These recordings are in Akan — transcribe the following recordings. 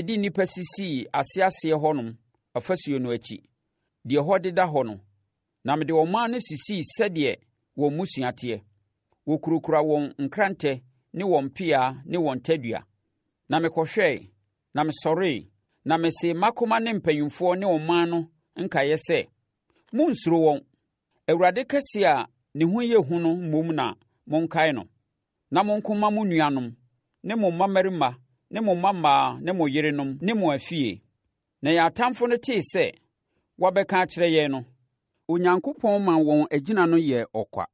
de nnipa sisii aseaseɛ hɔnom ɔfasuo no akyi, deɛ ɛhɔ deda hɔ no, na mede ɔman no sisii sɛdeɛ wɔn mmusua teɛ. Wɔkurakura wɔn nkrantɛ ne wɔn mpea ne wɔn tadua. Na mekɔhwɛe, na mesɔree, na mesee mmakoma ne mpanimfoɔ ne ɔman no nkaeɛ sɛ, Monnsuro wɔn! Awurade kɛseɛ a ne ho yɛ hu no mmom na monkae no, na monko mma mo nuanom, ne mo mmammarima ne mo mmammaa ne mo yerenom ne mo afie. Na yɛn atamfoɔ no tee sɛ wɔabɛka akyerɛ yɛn no, Onyankopɔn maa wɔn agyina no yɛɛ ɔkwa.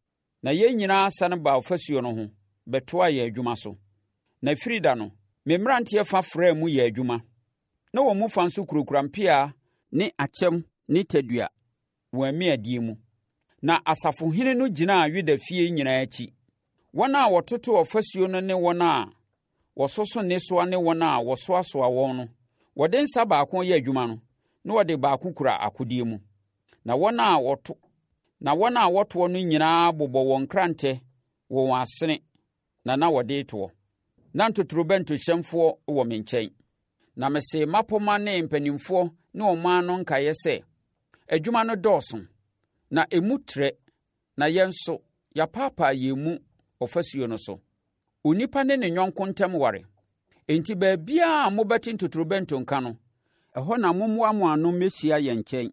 Na yɛn nyinaa sane baa ɔfasuo no ho bɛtoaa yɛn adwuma so. Na ɛfiri da no, me mmeranteɛ fa fraa mu yɛɛ adwuma. Na wɔn mu fa nso kurakura mpea ne akyɛm ne tadua wɔn amiadeɛ mu. Na asafohene no gyinaa Yuda fie nyinaa akyi. Wɔn a wɔtoto ɔfasuo no ne wɔn a wɔsoso nnesoa ne wɔn a wɔsoasoa wɔn no, wɔde nsa baako yɛ adwuma no, na wɔde baako kura akodeɛ mu. Na wɔn a wɔto na wɔn a wɔtoɔ no nyinaa bobɔ wɔn nkrantɛ wɔ wɔn asene na na wɔde retoɔ. Na ntotorobɛntohyɛnfoɔ wɔ me nkyɛn. Na mesee mmapɔmma ne mpanimfoɔ ne ɔman no nkaeɛ sɛ, Adwuma no dɔɔso, na emu trɛ, na yɛn nso, yɛapaapaa yɛn mu ɔfasuo no so. Onipa ne ne yɔnko ntam ware. Enti baabiara a mobɛte ntotorobɛnto nka no, ɛhɔ na mommoa mo ano mmɛhyia yɛn nkyɛn.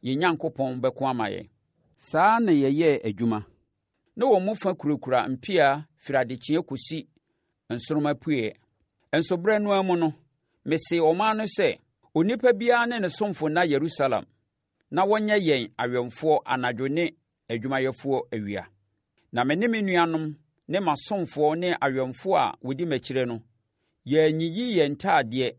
Yɛn Nyankopɔn bɛko ama yɛn. Saa ara na yɛyɛɛ adwuma. Na wɔn mu fa kurakura mpea firi adekyeeɛ kɔsi nsoromma apueeɛ. Nso berɛ no ara mu no, mesee ɔman no sɛ, Onipa biara ne ne somfo nna Yerusalem, na wɔnyɛ yɛn awɛmfoɔ anadwo ne adwumayɛfoɔ awia. Na me ne me nuanom ne m'asomfoɔ ne awɛmfoɔ a wɔdi m'akyire no, yɛanyiyi yɛn ntadeɛ.